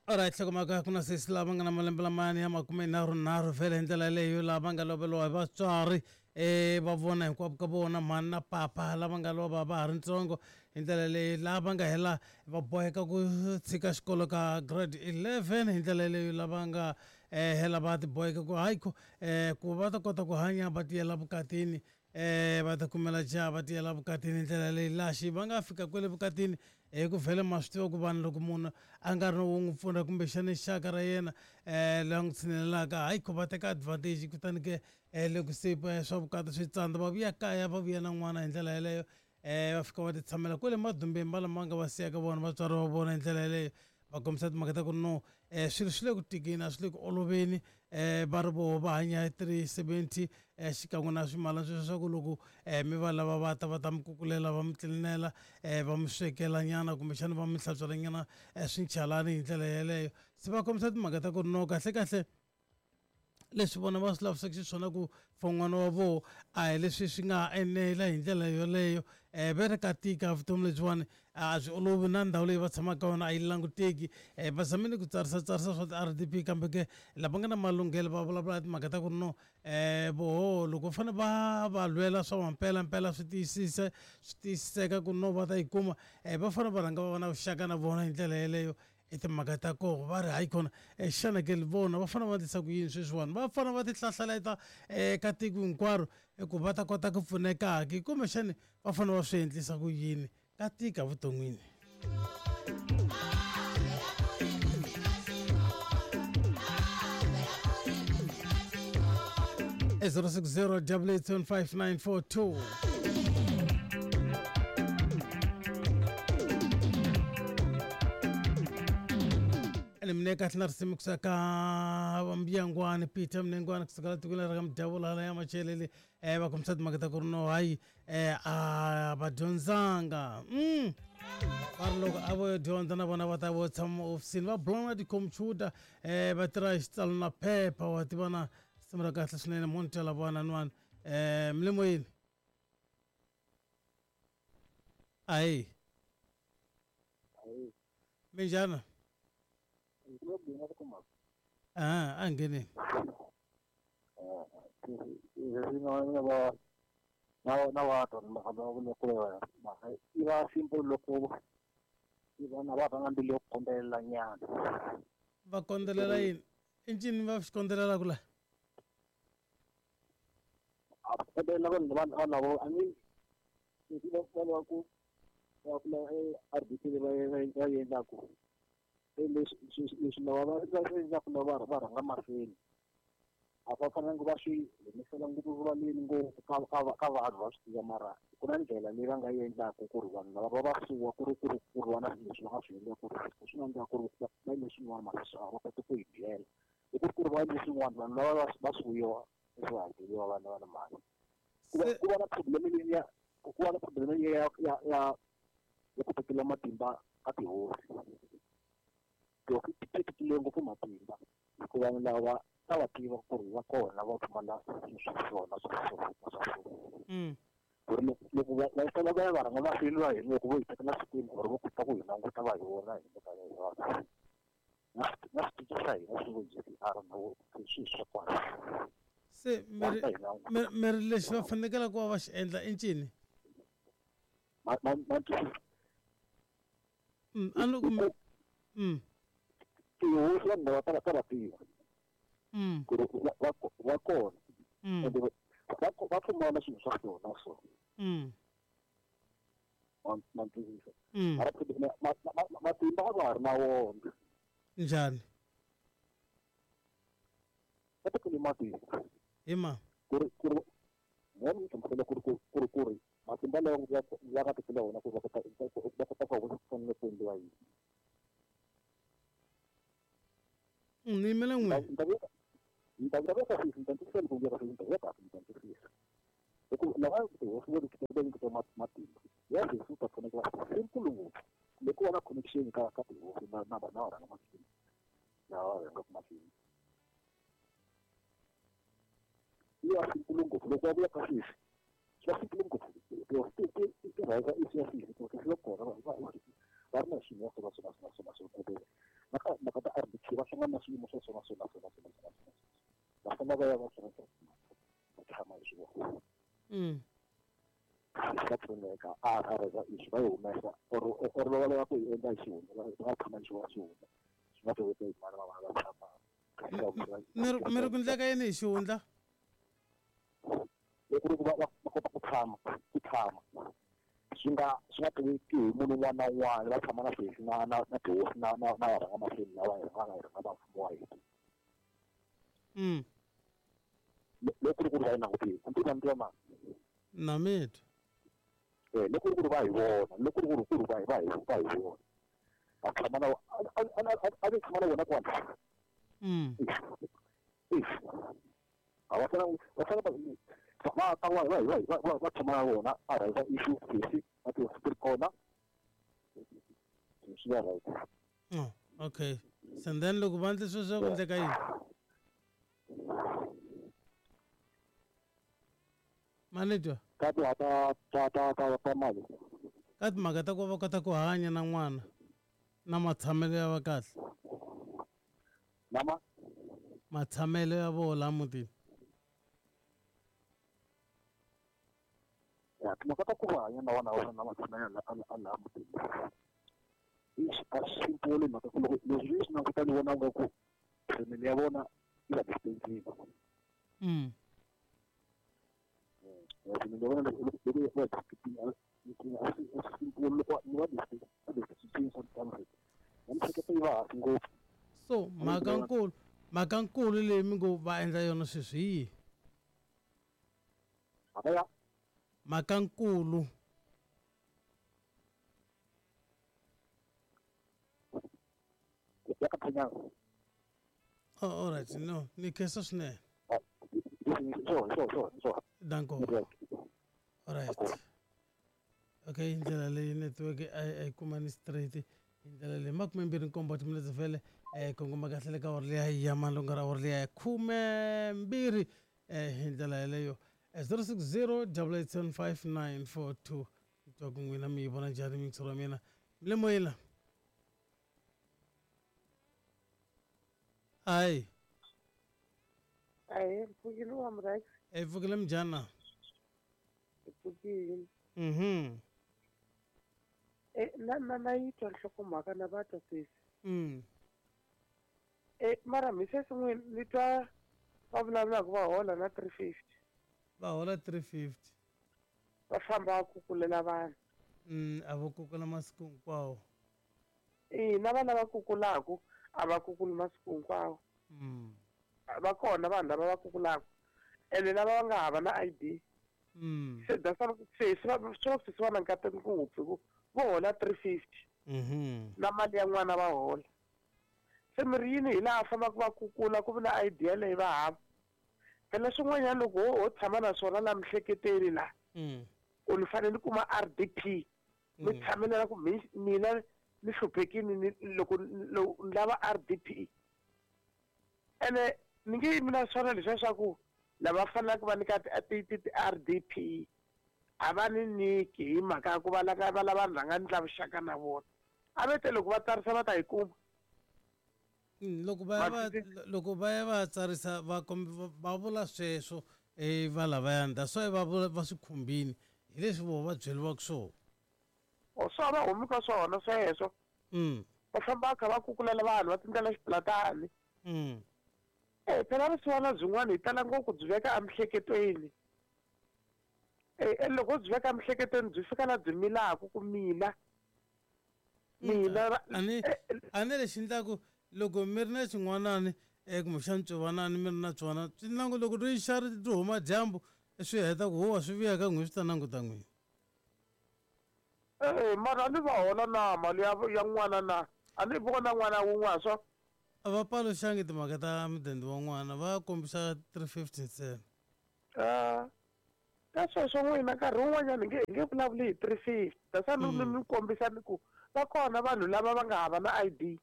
Alright, hlokomhaka ku na sesi lava nga na malembe lamani ya 33 vhele hi ndlela leyo lava nga loveriwa hi vatswari va vona hinkwavo ka vona mhani na papa lava nga lova va ha ri ntsongo hi ndlela leyi lava nga hela va boheka ku tshika xikolo ka grade 11 hi ndlela leyo lava nga hela va ti boheka ku hayi ku ku va ta kota ku hanya va tiyela vukatini va ta kumela jaha va tiyela vukatini hi ndlela leyi laxi va nga fika kwele vukatini hi ku vhele ma swi tiva ku vanhu loko munhu a nga ri wo n'wi pfuna kumbexana xaka ra yena loyi a n'wi tshinelelaka hayi ku va teka advantage kutani ke loko se swa vukati swi tsandza va vuya kaya va vuya na n'wana hi ndlela yeleyo va fika va ti tshamela kwele madumbeni va lama nga va siyaka vona vatswari va vona hi ndlela yeleyo va kombisa timhaka ta ku no swilo swi le ku tikeni a swi le ku oloveni va ri voho va hanya hi 370 xikan'we na swimalana sweswo swa ku loko mi va lava va ta va ta mi kukulela va mi tlilinela va mi swekela nyana kumbexana va mi hlantswela nyana swinchalani hi ndlela yeleyo se va kombisa timhaka ta ku ri no kahle kahle leswi vona va swi lavisaka xiswona ku for n'wana wa voho a hi leswi swi nga enela hi ndlela yoleyo ve ri ka tika vutomi lebyiwani a byi olovi na ndhawu leyi va tshamaka ka yona a yi languteki va zamile ku tsarisa tsarisa swa ti-R_D_P kambe ke lava nga na malunghelo va vulavula timhaka ta ku ri no voho loko va fanele va va lwela swa mampelampela swi tiyisisa swi tiyisiseka ku no va ta yi kuma va fanele va rhanga va va na vuxaka na vona hi ndlela yeleyo i timhaka ta koho va ri hayi kona xana ke vona va fanele va endlisa ku yini sweswiwani va fanele va ti hlahlaleta eka tiko hinkwaro ku va ta kota ku pfuneka ke kumbexani va fanele va swi endlisa ku yini ka tika vuton'wini e 060 875 ene mina kahle na risimu kusuka ka vambiyangwani peter mnengwana kusuka la tikweni ra ka mudyavula hala ya machelele va kombisa timhaka ta ku ri no hayi a va dyondzanga va ri loko a vo yo dyondza na vona va ta vo tshama ehofisini va bula na tikhomphyuta va tirha hi xitsalo na phepha wa tiva na risimu ra kahle swinene mo ni twela vona nwani mi le moyeni ahi minjhani a a ngheneni na va twa mhaka yi va simple loko yi va na va va na mbilu yo kondelela nyana va kondelela yini i ncini va swi kondelelaka la a kondelela vanhu vanhu lavo I mean leswi va va ku va ku lava R_D_C leyi va va yi endlaku leswi leswi lava va va swi endlaku lava va rhanga mahlweni a va fanelanga va swi humesela ngopfu rivaleni ngopfu ka ka ka vanhu va swi tiva mara ku na ndlela leyi va nga yi endlaku ku ri vanhu lava va va suwa ku ri ku ri ku ri va na swilo leswi va nga swi endla ku ri swi nga endleka ku ri va endle swin'wana mara a va koti ku hi byela i ku ri ku ri va endle swin'wana vanhu lava va va suwiwa va hakeriwa vana va na mali ku va ku va na problem leyi ya ku va na problem leyi ya ya ya ya ku tekela matimba ka tihosi tihosi ti tekile ngopfu matimba hikuva vanhu lava ta va tiva ku ri va kona va pfumala swilo swa swona swa so na swa so ku ri loko va va sala va ya va rhanga mahlweni va hina loko vo hi tekela sikwini or vo kota ku hi languta va hi vona hi le ka yona na na switichi swa hina swi vo J_C_R na vo swilo swa kona se mi ri mi ri lexi va fanekele ku va va xi endla i ncini ma ma ma twisisa A ni ku Tihosi vanhu lava ta va ta va tiva ku ri va va va kona ende va va pfumala swilo swa swona so ma ma twisisa mara matimba a va ha ri na wona njhani va tekele matimba hi ma ku ri ku ri ni nga hlamusela ku ri ku ku ri ku ri matimba lawa ya ya nga tekela wona ku va kota va kota ku vona ku fanele ku endliwa yini Ni yimele n'wina ni ta vuya ni ta vuya ka sweswi ni ta twisisa loko vuya ka sweswi ni ta vuya kahle ni ta twisisa hi ku lava tihosi vo va nyiketa matimba ya sweswi u ta pfuneka simple ngopfu kumbe ku va na connection ka ka tihosi na na na varhanga mahlweni lava va rhangaka mahlweni yi va simple ngopfu loko va vuya ka sweswi swi va simple ngopfu tihosi ti ti ti ti rhanga i ya sweswi ku swi va kona va va va ri na swilo swa swona swona swona swona kumbe na ka mhaka ta. swiyimo swa swona swona swona swona swona va famba va ya va swona va tshama hi swona va pfuneka a rheza ixi va yi humesa or va lava ku yi endla hi xihundla va tshama hi xona xihundla swi nga tiveki hi mani va va tshama mi ri ku ndleka yini hi xihundla loko ri ku va kota ku tshama swi nga tiveki hi munhu un'wana na un'wana va tshama na sesi na na na tihosi na na na varhanga mahlweni lava hi rhangaka hi rhanga va mfumo wa hina loko ri ku ri va yi langutile a ndzi na mani na mitwa loko ri ku ri va hi vona loko ri ku ri ku ri va hi va hi va hi vona a tshama na a ni tshama na vona kwala a va fanele va fanele va ta va va va va tshama na vona a rhangisa issue sesi a tihosi ti ri kona swi va right. Oh, okay. So then loko va endle sweswo ku endleka yini? Manitwa ka timhaka ta ta ta ta mali ka timhaka ta ku va kota ku hanya na n'wana na matshamelo ya va kahle nama matshamelo ya voho laha mutini ya timhaka ta ku va hanya na vana va na matshamelo a laha mutini a swi simple mhaka ku loko leswi swi languta ni vona nga ku family ya vona yi va distancing family ya vona loko va simple loko va distancing sometimes na miehleketo yi va hansi ngopfu. So mhaka nkulu leyi mi ngo va endla yona sweswi hi yihi? Mhaka ya mhaka nkulu ya ka Phenyana. Oh, all right, no, ni khensa swinene. Sure. Danko. All right. Okay, ndlela leyi network a yi kumani straight hi ndlela leyi 27 timinetse vhele kongoma kahle le ka awara liya ya malunga ra awara liya ya 12 hi ndlela yeleyo 060 8875942 twa ku n'wina mi yi vona njhani mixero wa mina mi le moyeni la hayi Ahe, mpfukile wa Mrax, hi pfukile minjhani na mpfukile. Na na na yi twa nhlokomhaka na va twa sesi. Mara mi sesi n'wini ni twa va vulavulaka va hola na 350. Va hola 350. Va famba va kukulela vanhu. A va kukula masiku hinkwawo. Na vana va kukulaku a va kukuli masiku hinkwawo. Va kona vanhu lava va kukulaku ene lava va nga hava na ID. Se that's why sesi va swi sesi va na nkateko ngopfu hi ku vo hola 350. Na mali ya n'wana va hola. Se mi ri yini hi laha fambaka va kukula ku vi na ID yaleyo va hava. Phela swin'wanyana loko ho tshama na swona laha miehleketweni laha u ni fanele ni kuma RDP. Mi tshamelela ku mina ni hluphekini ni loko ni lava RDP. Ene ni nge yimi na swona leswiya swa ku lava faneleke va nyika ti RDP a va ni nyiki hi mhaka ya ku va lava va lava vanhu va nga ndla vuxaka na vona. A va te loko va tsarisa va ta yi kuma. Loko va ya va loko va ya va tsarisa va va vula sweswo va lavayani that's why va vula va swi khumbini hi leswi voho va byeriwaka swona. O swa va humi ka swona sweswo. Va famba va kha va kukulela vanhu va tindlela xipulatani. Phela vusiwana byin'wana hi tala ngopfu byi veka emiehleketweni. Loko byi veka emiehleketweni byi fika la byi milaka ku mina. Mina a ni lexi endlaku loko mi ri na xin'wanani kumbexana ntswovanani mi ri na tsona swi nangu loko ri xa ri huma dyambu swi heta ku huwa swi vuya ka n'wina swi ta languta n'wina. Mara a ni va hola na mali ya n'wana na a ni vona n'wana wun'wana swa a va paluxangi timhaka ta mudende wa n'wana va kombisa 350 ntsena. Ka sweswo n'wina nkarhi wun'wanyana hi nge vulavuli hi 350 that's why ni kombisa ni ku va kona vanhu lava va nga hava na ID.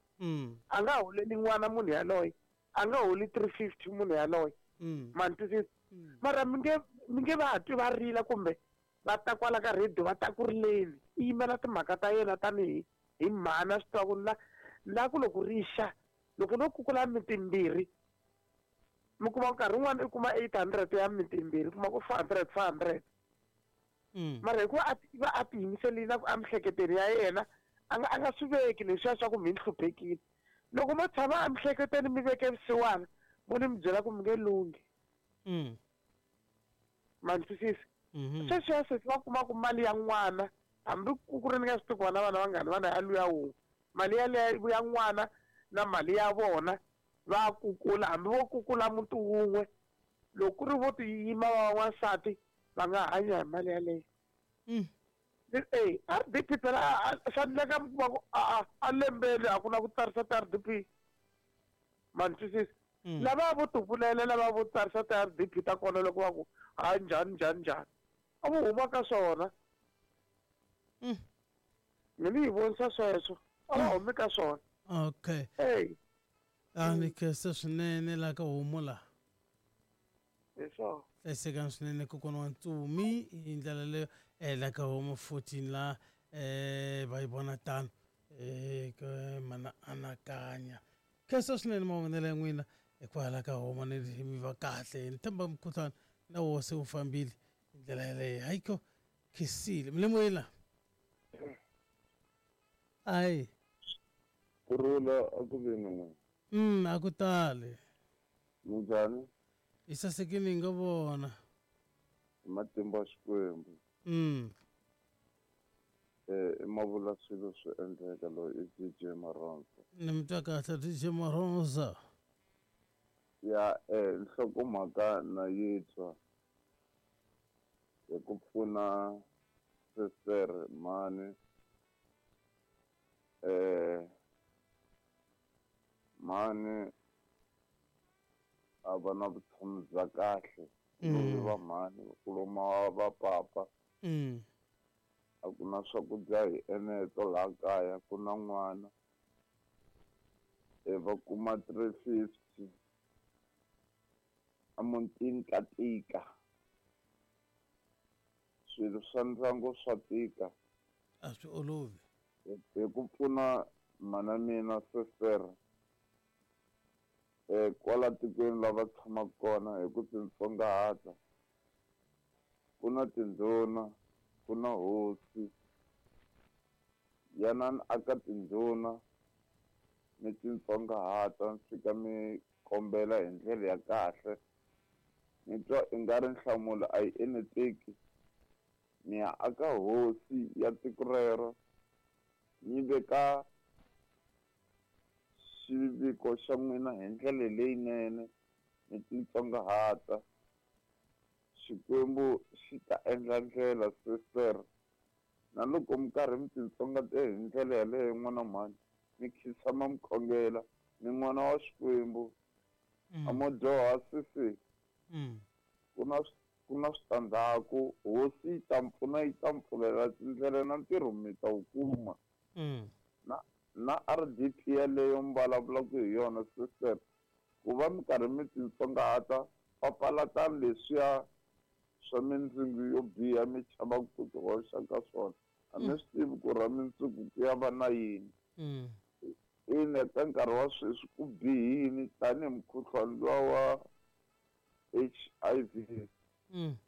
A nga holeli n'wana munhu yaloye a nga holi 350 munhu yaloye. Ma ni twisisa? Mara mi nge va twi va rila kumbe va ta kwala ka radio va ta ku rileni i yimela timhaka ta yena tanihi hi mhana swi tiva ku la ku loko ri xa Loko no kukula miti mbirhi, mi kuma nkarhi wun'wani i kuma 800 ya miti mbirhi, kuma ku 400 400. Mara hikuva a va a tiyimiserile na ku emihleketweni ya yena a nga swi veki leswiya swa ku mi ni hluphekile. Loko mo tshama emihleketweni mi veke vusiwana, mo ni mi byela ku mi nge lunghi. Ma ni twisisa? Sweswiya sesi va kuma ku mali ya n'wana, hambi ku ri ni nga swi tivi ku vana vana vangani vana ya luya wun'we, mali yaleyo ya n'wana na mali ya vona va kukula, hambi vo kukula muti wun'we, loko ku ri vo tiyima va wansati va nga hanya hi mali yaleyo. RDP phela swa endleka mi kuma ku a lembeni a ku na ku tsarisa ti-RDP. Ma ni twisisa? Lava vo tivulela, lava vo tsarisa ti-RDP ta kona loko va ku ha njhani njhani njhani, a vo huma ka swona. Mi ni yi vonisa sweswo, a va humi ka swona. Okay. Hey. A ni khensa swinene la ka homu la. Hi swona. Hlayisekani swinene kokwana wa Ntsumi hi ndlela leyo la ka homu 14 la va yi vona tano ka mana anakanya. Khensa swinene mavonelo ya n'wina hikwalaho ka homu ni mi va kahle. Ni tshemba mukhuhlwana na woho se wu fambile hi ndlela yaleyo. Hayikho khensile. Mi le moyeni la? Ayi. Kurhula a ku ve na n'wina. A ku tali. Minjhani? Hi sasekile hi nga vona. Hi matimba ya Xikwembu. I mavula swilo swi endleka loyi i DJ Maronza. Ni mi twa kahle DJ Maronza. Ya nhlokomhaka na yi twa hi ku pfuna sister mhani mhani a va na vutomi bya kahle. Loyi va mhani ku loma va papa. A ku na swakudya hi eneto laha kaya, ku na n'wana. Va kuma 350 emutini ka tika. Swilo swa ndyangu swa tika. A swi olovi. Hi ku pfuna mhana mina sister kwala tikweni lava tshamaka kona hi ku titsongahata. Ku na tindhuna, ku na hosi. Yanani aka tindhuna mi titsongahata mi fika mi kombela hi ndlela ya kahle. Ni twa i nga ri nhlamulo a yi eneteki. Mi ya aka hosi ya tiko rero mi veka xiviko xa n'wina hi ndlela leyinene mi titsongahata. Xikwembu xi ta endla ndlela sister. Na loko mi karhi mi titsongahata hi ndlela yaleyo n'wana mhani, mi khinsama mi khongela, ni n'wana wa Xikwembu. A mo dyoha sisi. Ku na switandzhaku, hosi yi ta mi pfuna, yi ta mi pfulela tindlela na ntirho mi ta wu kuma. Na RDP yaleyo mi vulavulaka hi yona sister, ku va mi karhi mi titsongahata, papalatani leswiya swa mindzingu yo biha mi chavaka ku ti hoxa ka swona. A mi swi tivi ku ra mindzuku ku ya va na yini. Ina ka nkarhi wa sweswi ku bihini tanihi mukhuhlwani luwa wa HIV.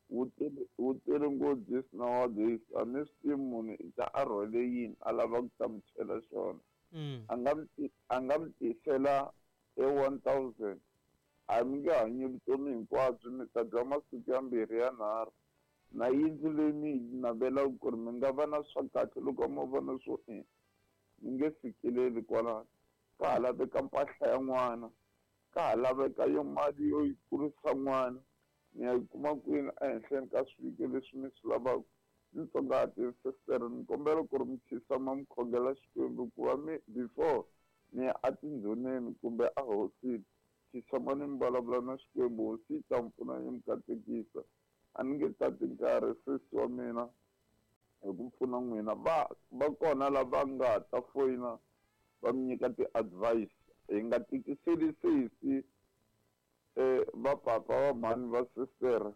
Wu tele ngopfu this nowadays. A mi swi tivi munhu i ta a rhwele yini a lava ku ta mi chela xona. A nga mi tisela e 1000. A mi nge hanyi vutomi hinkwabyo, mi ta dya masiku ya mbirhi ya nharhu. Na yindlu leyi mi yi navelaka ku ri mi nga va na swa kahle loko mo vona swo mi nge fikeleli kwalano. Ka ha laveka mpahla ya n'wana, ka ha laveka yo mali yo yi kurisa n'wana. Mi ya yi kuma kwini ehenhleni ka swiviko leswi mi swi lavaka. Ni tsongahati sister, ni kombela ku ri mi khinsama mi khongela Xikwembu ku va mi before mi ya etindhuneni kumbe ehosini, khinsama ni mi vulavula na Xikwembu, hosi yi ta mi pfuna yi mi katekisa. A ni nge tati nkarhi sesi wa mina hi ku pfuna n'wina. Va kona lava nga ta foyina va mi nyika ti-advice. Hi nga tikiseli sesi va papa va mhani va sister.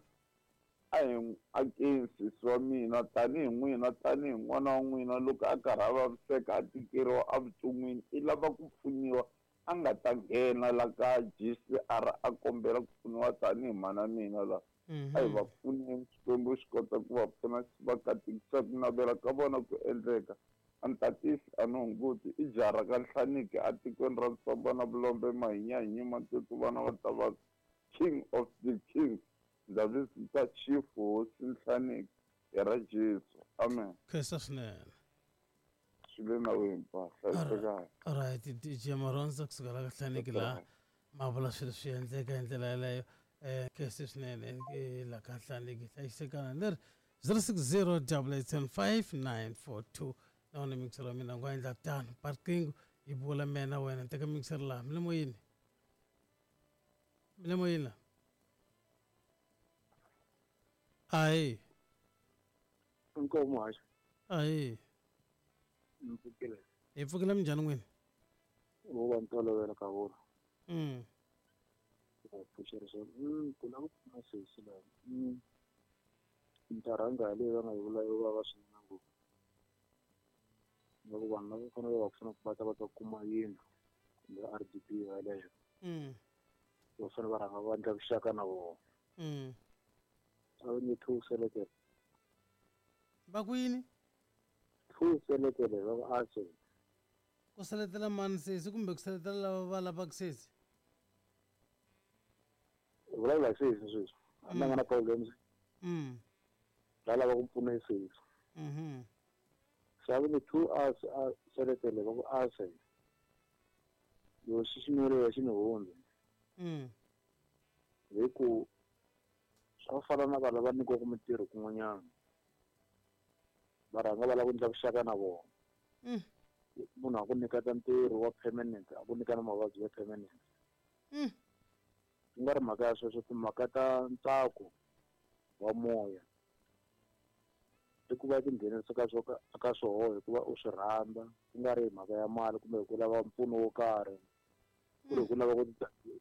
A hi akeni sesi wa mina tanihi n'wina, tanihi n'wana wa n'wina loko a karhi a vaviseka a tikeriwa evuton'wini, i lava ku pfuniwa a nga ta ta nghena la ka GCR a kombela ku pfuniwa tanihi mhana mina la. A hi va pfuneni, Xikwembu xi kota ku va pfuna, xi va katekisa, ku navela ka vona ku endleka. A ni tatisi, a ni hunguti, i jaha ra ka Nhlaniki atikweni ra Ntsomba na Vulombe, Mahinyahinyi, Matutu, vana va ta va King of the Kings. Ndza vizita Chief Hosi Nhlaniki hi ra Jesu. Amen. Khensa swinene. Swi le nawini pa, hlayisekani. Alright, DJ Maronza kusuka la ka Nhlaniki laha ma vula swilo swi endleka hi ndlela yeleyo. Khensa swinene la ka Nhlaniki, hlayisekana. Leri 060 875 942 na wona mixer wa mina ngo endla tano. Parkingo yi vula mina wena teka mixer laha mi le moyeni. Mi le moyeni la. Ayi. Inkomo haxa. Ayi. Mpfukile. Hi pfukile minjhani n'wini? Wo va ntolovelo ka vona. Pfuxerisa. Ku lava ku pfuna sesi laha. Ni ta rhanga leyi va nga yi vula yo vava swinene ngopfu. Loko vanhu lava fanele va pfuna ku va ta va ta kuma yindlu kumbe RDP yeleyo. Va fanele va rhanga va endla vuxaka na vona. A va nge thuselekele. Va ku yini? Thuselekele va ku a se. Ku seletela mani sesi kumbe ku seletela lava va lavaka sesi? Vulavula hi sesi sweswi. A ni nga na problems. Va lava ku pfuna hi sesi. Se a va nge 2 hours a seletele va ku a se. Loko xi xin'we xi ni hundzi. Hi ku swa fana na vanhu lava nyikiwaka mintirho kun'wanyana. Va rhanga va lava ku endla vuxaka na vona. Munhu a ku nyiketa ntirho wa permanent, a ku nyika na mavabyi ya permanent. Ku nga ri mhaka ya sweswo, timhaka ta ntsako wa moya. I ku va tinghenisa ka swo ka swoho hikuva u swi rhandza, ku nga ri mhaka ya mali kumbe hi ku lava mpfuno wo karhi. Ku ri hi ku lava ku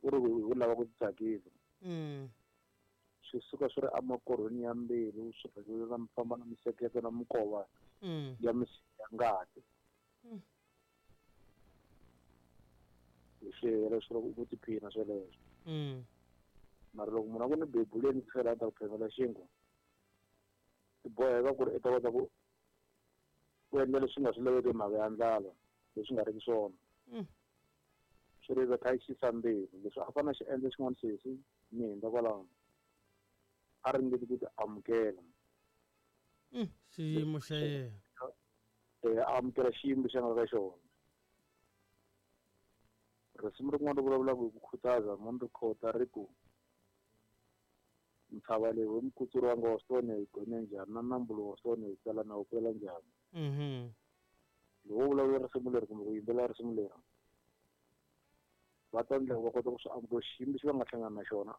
ku ri hi ku lava ku titsakisa. Swi suka swi ri emakorhweni ya mbilu, swi rhelela na famba na miehleketo na minkova ya misiha ya ngati. Hi swi hela swi ri ku tiphina sweleswo. Mara loko munhu a ku ni bebuleni tlhela a ta ku phemela xinkwa, ti boheka ku ri i ta kota ku endla leswi nga swi laveki hi mhaka ya ndlala, leswi nga riki swona. Swi ri kha yi xisa mbilu. Leswi a fanele a xi endla xin'wana sesi ni hundza kwalaho, a ringeti ku ti amukela. Xiyimo xa yena. A amukela xiyimo lexi a nga ka xona. Risimu rin'wana ri vulavulaka hi ku khutaza, mo ni ri khota ri ku ntshava leyi we mukutsuri wanga wa swi vona hi gonya njhani, na nambu lowu wa swi vona hi tsala na wu pela njhani. Loko wo vulavula risimu leri kumbe ku yimbelela risimu leri, va ta endla va kota ku swi amukela xiyimo lexi va nga hlangana na xona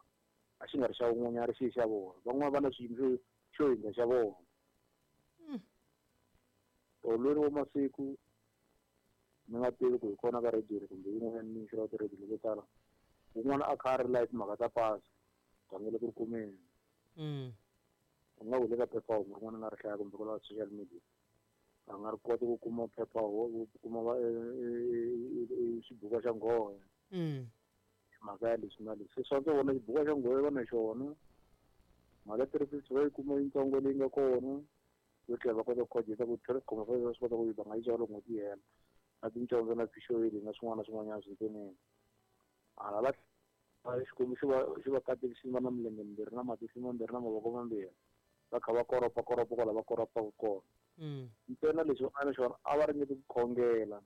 a xi nga ri xa wun'wanyana, ri xi xa vona. Van'wana va na xiyimo xo hundza xa vona. Tolweni wa masiku ni nga tivi ku hi kona ka radio kumbe yin'wanyana ni xava ti-radio leto tala, wun'wana a kha a ri live timhaka ta pasi rhangele ku ri kumeni. U nga wule ka phephahungu rin'wana nga ri hlaya kumbe kwala social media, a nga ri koti ku kuma phephahungu, ku kuma xibuku xa nghohe. Mhaka ya leswi na leswi. Se swa ndzi vona xibuku xa nghohe va na xona, mali ya 350 va yi kuma yintsongo leyi nga kona, yo tlhela va kota ku khojeta ku 3.5 va swi kota ku yi va nga yi xava loko n'hweti yi hela, na tincondzo na fish oil na swin'wana na swin'wanyana swintsonene. Hala va Xikwembu xi va katekisile va na milenge mimbirhi na matihlo mambirhi na mavoko mambirhi, va kha va koropa koropa kwala va koropaka kona. Ntsena lexi va nga na xona a va ringeti ku khongela.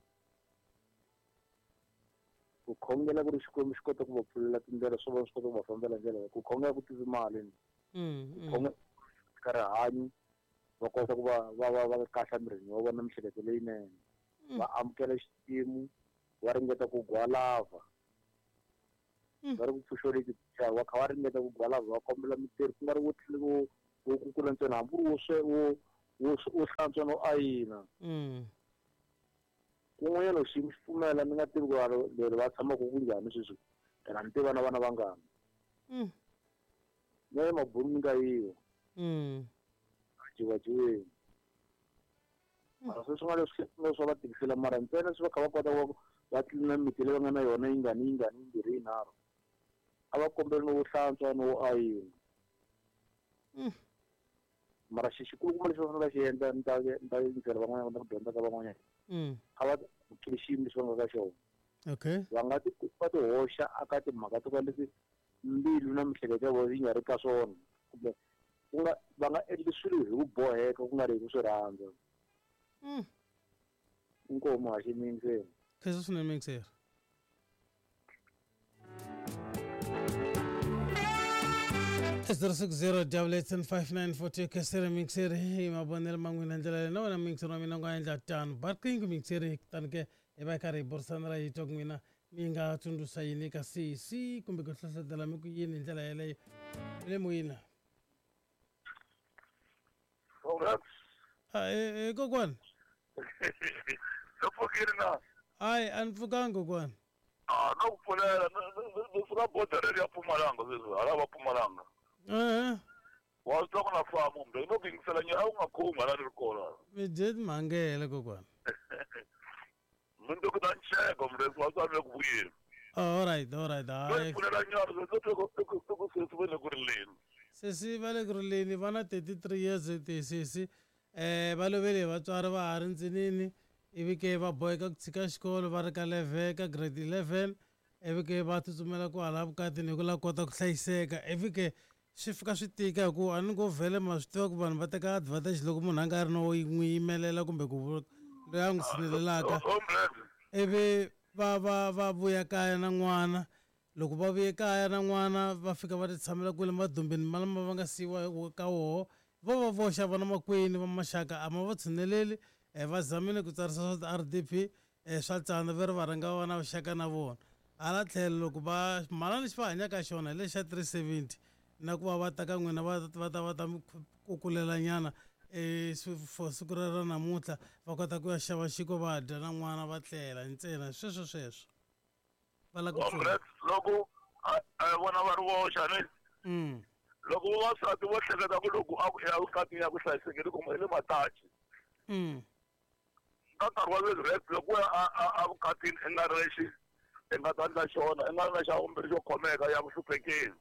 Ku khongela ku ri Xikwembu xi kota ku va pfulela tindlela swo va swi kota ku va fambela ndlela. Ku khongela ku tisi mali ni. Ku khongela ka rihanyo va kota ku va va va va kahle emirini wa vona miehleketo leyinene. Va amukela xiyimo, va ringeta ku gwalava. Va ri ku pfuxeleki va kha va ringeta ku gwalava, va kombela mintirho, ku nga ri wo tlhela wo kukula ntsena, hambi ku ri wo swe wo wo wo hlantswa no ayina. Kun'wanyana loko xiyimo xi pfumela, ni nga tivi ku leri va tshamaka ku njhani sweswi, phela ni tiva na vana vangani. Na le mabulu ni nga yiwa. A jiwajiweni. Mara sweswi nga leswi nga swa va tikisela, mara ntsena swi va kha va kota ku Va tlilina miti leyi va nga na yona yingani yingani yimbirhi yinharhu. A va kombeli no wo hlantswa no wo ayina. Mara xi xikulukumba lexi va fanele va xi endla ni ta ni ta yingisela van'wanyana na ku dyondza ka van'wanyana. A va amukeli xiyimo lexi va nga ka xona. Okay. Va nga ti va ti hoxa aka timhaka to ka leti mbilu na miehleketo ya vona yi nga ri ka swona kumbe ku nga va nga endli swilo hi ku boheka ku nga ri hi ku swi rhandza. Inkomu muhaxi mi yingiseni. Khensa swinene muyingiseri. 060 875 khensere muyingiseri hi mavonelo ma n'wina ndlela leyi na wena muyingiseri wa mina u nga endla tano ba riqingho muyingiseri kutani ke hi va hi karhi hi burisana ra hi twa ku n'wina mi nga tsundzuxa yini ka sesi kumbe ku hlohlotela mi ku yini hi ndlela yeleyo mi le moyeni Congrats. Ah, e, e kokwana No pfukile na. Hayi a ni pfukanga kokwana. Ah, no ku pfulela ni suka bodereni ya Mpumalanga sweswi hala va Mpumalanga. Eh. Wa swi twa ku na famba kumbe no ku yingisela nyana a wu nga khomi hala ni ri kona. Mi dye timhangele kokwana. Mundzuku ta nxeko muresi wa swa le ku vuyeni. Oh, all right, all right. Hayi. Pfulela nyana sweswi i ku i ku sesi va le ku rileni. Sesi va le ku rileni va na 33 years tisesi eh va lovele hi vatswari va ha ri ntsinini ivi ke va boheka ku tshika xikolo va ri ka level ka grade 11 ivi ke va tsutsumela kwala vukatini hi ku lava kota ku hlayiseka ivi ke swi fika swi tika hi ku a ni ngo vhele ma swi tiva ku vanhu va teka advantage loko munhu a nga ri no n'wi yimelela kumbe ku loyi a n'wi tshinelelaka ivi va va va vuya kaya na n'wana loko va vuye kaya na n'wana va fika va ti tshamela kwele madumbeni ma lama va nga siyiwa ka woho vo va voxa vona makwenu va maxaka a ma va tshineleli va zamile ku tsarisa swa ti-R_D_P swa tsana ve ri va rhanga va va na vuxaka na vona hala tlhelo loko va mhala lexi va hanyaka xona hi lexa 370 na ku va va ta ka n'wina va va ta va ta mi kukulela nyana for siku ra ra namuntlha va kota ku ya xava xiko va dya na n'wana va tlela ntsena sweswo sweswo va lava ku pfuna loko vona va ri voxa ni loko vavasati vo hleketa ku loko a ku ya vukatini ya ku hlayisekile kuma hi le matachi Ka nkarhi wa sweswi Rex loko wo ya a vukatini i nga ri lexi i nga ta endla xona i nga ri na xa vumbirhi xo khomeka ya ku hluphekeni.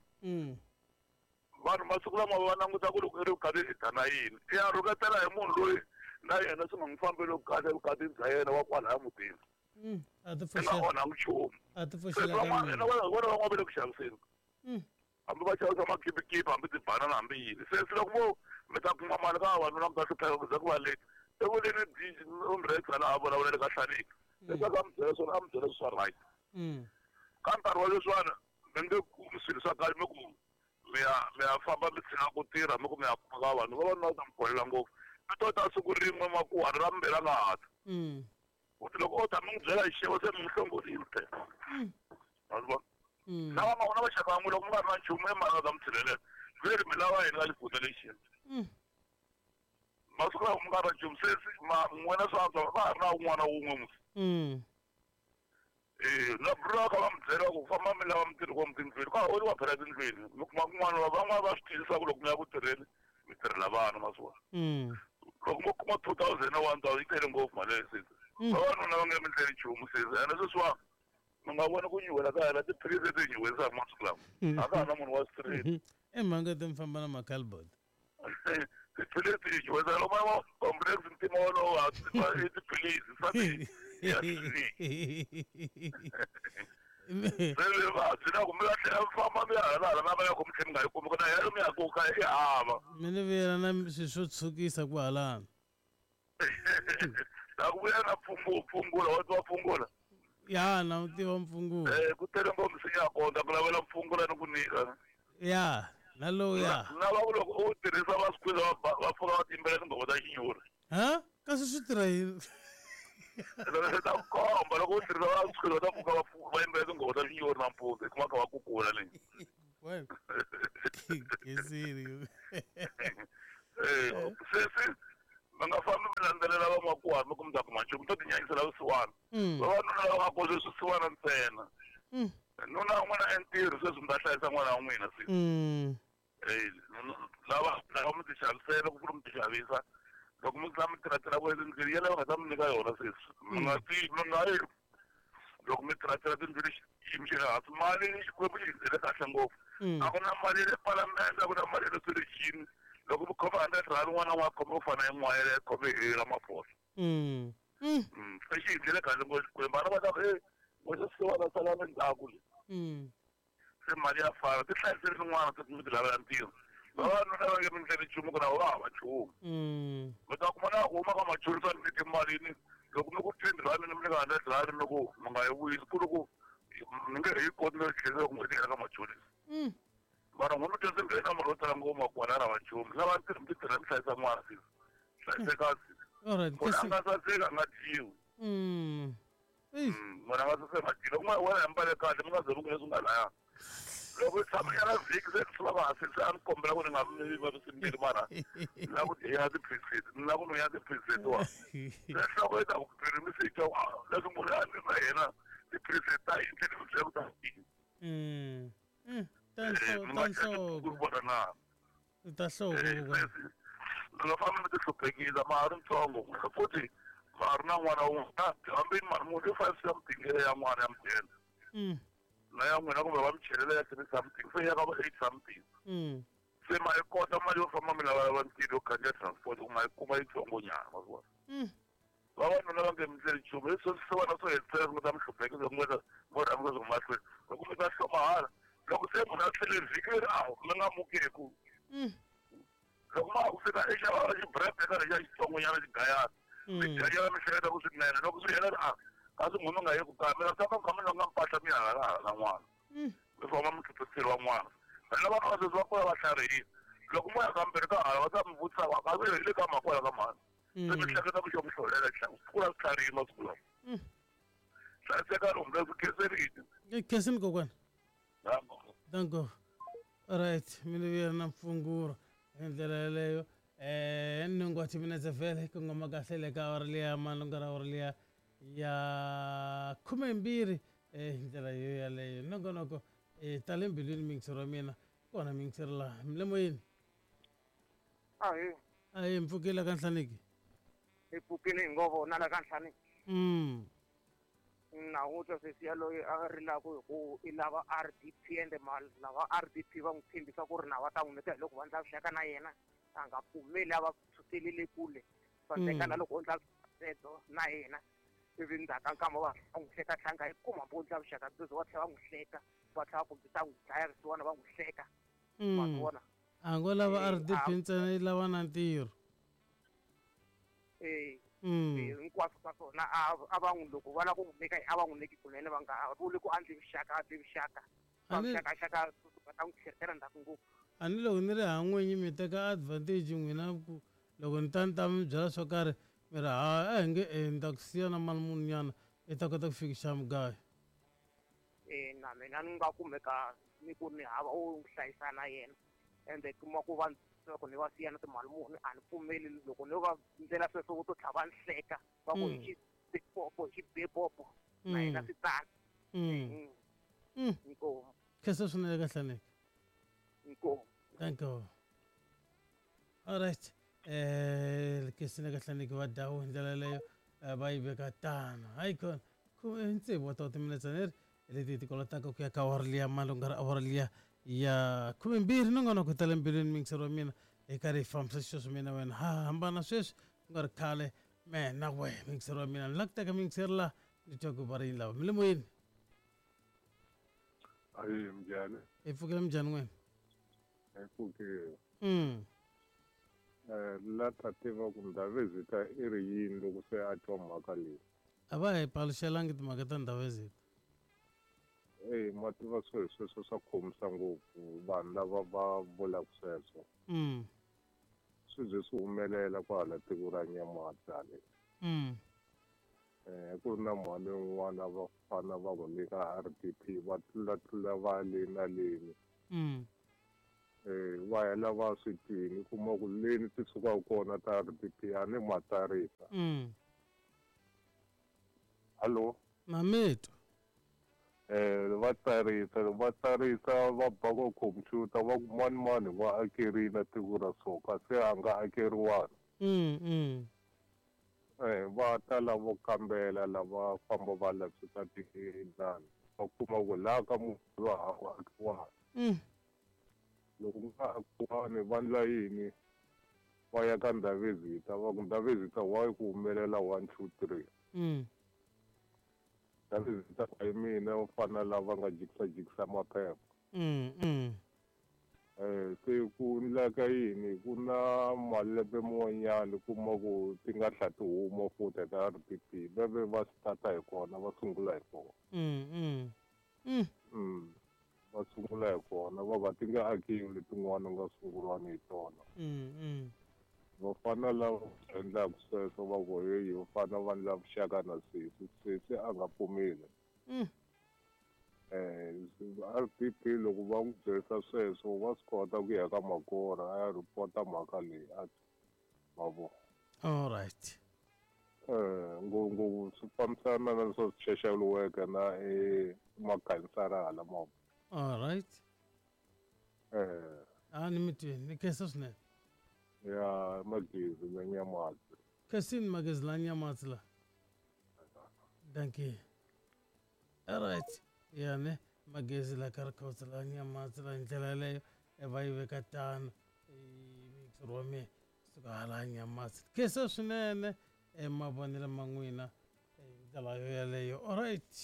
Vanhu masiku lama va languta ku loko i ri vukatini i ta na yini i ya rhuketela hi munhu loyi na yena swi nga n'wi fambeli kahle evukatini bya yena wa kwalaya mutini. A ti I nga onhangi nchumu. A ti Se pfuxela ka van'wana mina. vona van'wana va le ku xaviseni. Hambi va xavisa makhipikipi hambi tibanana hambi yini se se loko vo mi ta kuma mali ka vavanuna mi ta hlupheka ku ze ku va late se vuleni umrexa laha a vulavulele ka hlaliki leswaku a mi byela swona a mi byela swa right ka nkarhi wa leswiwani mi nge kumi swilo swa kahle mi ku mi ya mi ya famba mi tshika ku tirha mi ku mi ya kuma ka vanhu vavanuna va ta mi bolela ngopfu mi to ta siku rin'we makuhani ra vumbirhi a nga ha ta Futhi loko o ta mi n'wi byela hi xixevo se mi n'wi hlongorile phela. Ma swi vona? Na va na maxaka ya n'wina loko mi nga ri na nchumu i mani a ta mi tshinelela? Ve ri mi lava yini ka xifundza lexiya? Masiku lawa mi nga ri na nchumu se ma n'wina swa antswa va ha ri na un'wana wun'we musi. Eh, na bro va kha va mi byela ku famba mi lava mintirho kwalomu tindlwini ka ha oliwa phela tindlwini mi kuma kun'wana van'wana va swi twisisa ku loko mi ya ku tirheni mi tirhela vana ma swi vona loko mo kuma 2000 na 1000 yi tele ngopfu mali leyi sesi vavanuna va nge mi ndleli nchumu sesi ene sweswiwani mi nga voni ku nyuhela ka hina tiphilisi leti hi nyuherisaka masiku lawa a ka ha na munhu wa street I mhaka ti mi famba na ma-cardboard tiphilisi hi nyuhesa loko va complex ntima wolowo i tiphilisi swa ya se vuvabyi na ku mi ya tlhela mi famba mi ya hala hala na va ya ku mi tlhela mi nga yi kumi ku na yalo mi ya ku ka i hava mi ni vuyela na swilo swo tshukisa kwahalano na ku vuya na pfungula wa tiva pfungula ya na wu tiva mpfungula eh ku tele ngopfu misinya ya kona ku lavela mpfungula ni ku nyika ya na lowu ya na va ku loko u tirhisa va swi kwiza va pfuka va tiyimbela tinghoma ta xinyori ha kasi swi tirha yini loko ta ku komba loko u tirhisa va swi va ta pfuka va va yimbelela tinghoma ta xinyori nampundzu i kuma kha va kukula leyi Khensile. Eh, sesi mi nga fambi mi landzelela vamakuwa mi ku mi ta kuma nchumu mi to tinyanyisela vusiwana vavanuna lava nga kona sweswi siwana ntsena nuna wa n'wina entirho sweswi mi ta hlayisa n'wana wa n'wina sesi Eh, lava lava mi ti xavisela ku ri mi ti xavisa loko mi tlhela mi tirha tirha ku endleni yeleyo va nga ta mi nyika yona sesi mi nga ti mi nga yi Loko mi tirha tindlu xiyimo xa le hansi mali Xikwembu xi hi kahle ngopfu. A ku na mali ya le palamende, a ku na mali ya le swelexini. Loko mi khoma R100 un'wana na un'wana a khome ku fana na yin'wana yaleyo khome hi Ramaphosa. Se xi hi ndlele kahle ngopfu Xikwembu. Vana va ta ku e n'we se va ta sala endzhaku le. Se mali ya fana ti hlayiseli tin'wana ti mi ti lavela ntirho. Vavanuna va nge mi ndleli nchumu ku na va hava nchumu. Mi ta kuma na ku huma ka machonisa ni timalini loko mi ku R10 mi nyika R100 mi ku mi nga yi vuyisi ku ri ku mi nge he yi koti no tlhelela loko n'hweti yi hela ka machonisa. Mara n'we mi dyondze nghena mali yo tala ngopfu makwala ra nchumu. Lava ntirho mi ti tirha mi hlayisa n'wana sisi. Hlayiseka sisi. Munhu a nga saseki a nga dyiwi. Munhu a nga saseki a nga dyiwi. Loko n'wana wena ambale kahle mi nga ze mi ku leswi nga laya. Loko tshama nyana vhiki se swi va hansi se a ni kombela ku ni nga mi vavisi mbilu mara ni lava ku dya ti-preset ni lava ku nwa ti-preset wa. Se nhloko yi ta ku phiri mi se twa leswi munhu a ni na yena ti-preset ta yini tlhela mi byela ku ta yini. Ta nhloko. Vona na. Ta nhloko. Mi nga fambi mi ti hluphekisa ma ha ri ntsongo futhi ma ha ri na n'wana wun'we hambi mali muni i 5 something ya n'wana ya mudende. Na ya n'wina kumbe va mi chelela ya 3 something se ya ka va 8 something. Se ma yi kota mali yo famba mi lavalava ntirho yo khandziya transport ku ma yi kuma yitsongonyana ma swi vona. Vavanuna va nge mi ndleli nchumu leswi swi vona swo hetisela swi nga ta mi hluphekisa ku nga mo rhangisa swi mahlweni loko mi ta hloma hala loko se munhu a tlhele vhiki leri a mi nga mukeku. Loko ma ha ku fika i xava xibrebe ka lexiya xitsongonyana xigayana mi dyanyana mi hleketa ku swinene loko swi hela a kasi n'wina mi nga yi ku kaya mi ta tshama mi kha mi longa mpahla mi ya hala hala n'wana mi famba mi tlhuthiseriwa n'wana. Vana va ka sweswi va kula va tlharihile loko mo ya kambirhi ka hala va ta mi vutisa va kasi hi le ka makwala ka mhani se mi hleketa ku xo mi hlolela kula swi tlharihile masiku lawa. Hlayiseka lomu leswi khenserile. Khensini kokwana. Danko. Alright, mina vuya na mpfunguro hi ndlela yaleyo. Nhungu wa timinetse vhele ku ngoma kahle le ka awara liya malunga ra awara liya ya 12 hi ndlela yo yaleyo. Nongonoko ta le mbilwini miyingiseri wa mina kona miyingiseri laha mi le moyeni. Ahe. Ahe mpfukile ka Nhlaniki. Hi pfukile hi ngo vona la ka Nhlaniki. Na u twa sesi yaloye a rilaka hi ku i lava RDP ende lava RDP va n'wi tshembisa ku ri na va ta n'wi nyika hi loko va ndla vuxaka na yena a nga pfumeli a va sukelele kule va teka na loko o ndla byebyo na yena ivi ndzhaku ka nkama va n'wi hleka tlhanga yi kuma hambi o ndla vuxaka byebyo va tlhela va n'wi hleka va tlhela va kombisa n'wi dlaya risiwana va n'wi hleka ma swi vona. A ngo lava RDP ntsena yi lava na ntirho. Hinkwaswo ka swona a va n'wi loko va lava ku n'wi nyika a va n'wi nyiki kunene va nga vuli ku a ndli vuxaka a ndli vuxaka va vuxakaxaka va ta n'wi tlherisela ndzhaku ngopfu. A ni loko ni ri ha n'winyi mi teka advantage n'wina ku loko ni ta ni ta mi byela swo karhi mi ri ha a hi nge ni ta ku siya na mali muni nyana i ta kota ku fikisa mugayo. Na mina ni nga kumeka ni ku ni hava u hlayisa na yena ende kuma ku va loko ni va siya na timali muni a ni pfumeli loko ni va ndlela sweswo vo to tlhela va ni hleka va ku hi xipopo hi xibepopo na yena swi tano. Inkomu. Khensa swinene ka Nhlaneki. Inkomu. Thank you. All right. Khensile ka Nhlaneki va dawu hi ndlela yaleyo va yi veka tano. Hayi khona tsevu wa ta timinetse ni ri leti ti kolotaka ku ya ka awara liya malunga ra awara liya ya 12 nongonoko ta le mbilwini miyingiseri wa mina hi karhi hi fambisa xisweswo mina wena ha hambana sweswi ku nga ri khale me na we miyingiseri wa mina ni la ku teka miyingiseri laha ni twa ku va ri yini lava mi le moyeni. Ayi mjani. Hi pfukile mjani n'wina. Hi pfukile. La ta tiva ku Ndhavezitha i ri yini loko se a twa mhaka leyi. A va hi paluxelangi timhaka ta Ndhavezitha. Eyi ma tiva swilo sweswo swa khomisa ngopfu vanhu lava va vulaka sweswo. Swi ze swi humelela kwahala tiko ra Nyamatsi hale. Ku ri na mhani un'wana va fana va n'wi nyika RDP va tlulatlula va le na leni. Va hela va swi twini kuma ku leni ti sukaka kona ta RDP a ni ma tsarisa. Hallo. Mameto. Va tsarisa va tsarisa va ba ka computer va ku mani mani wa akerile tiko ra so kasi a nga akeriwanga. Va ta lavo kambela lava famba va lavisisa tinani va kuma ku laha ka munhu loyi a ku akiwani. Loko ku nga akiwani va ndla yini? Va ya ka Ndhavezitha va ku Ndhavezitha why ku humelela 1 2 3. Ndhavezitha a hi mina u fana lava nga jikisa jikisa maphepha. Se ku ndleka yini ku na malembe man'wanyana kuma ku ti nga tlha ti huma futhi ta RDP va ve va start-a hi kona va sungula hi kona. Va sungula hi kona va va ti nga akiwi letin'wana nga sunguriwani hi tona. Vafana lava endlaka sweswo va ku heyi va fana va ndla vuxaka na sesi, sesi a nga pfumeli. RDP loko va n'wi byerisa sweswo wa swi kota ku ya ka Magora a ya report-a mhaka leyi a ma vo. All right. Ngopfungopfu swi fambisana na leswi social worker na makhansara hala ma. All right. A ni mi twini, ni khensa swinene. Ya Magezi na Nyamatsi. Khensini Magezi la Nyamatsi la. Dankie. All right. Ya ne Magezi la ka Rikhotso la Nyamatsi la hi ndlela yaleyo va yi veka tano mixer wa mina suka hala Nyamatsi. Khensa swinene mavonelo ma n'wina hi ndlela yo yaleyo. All right.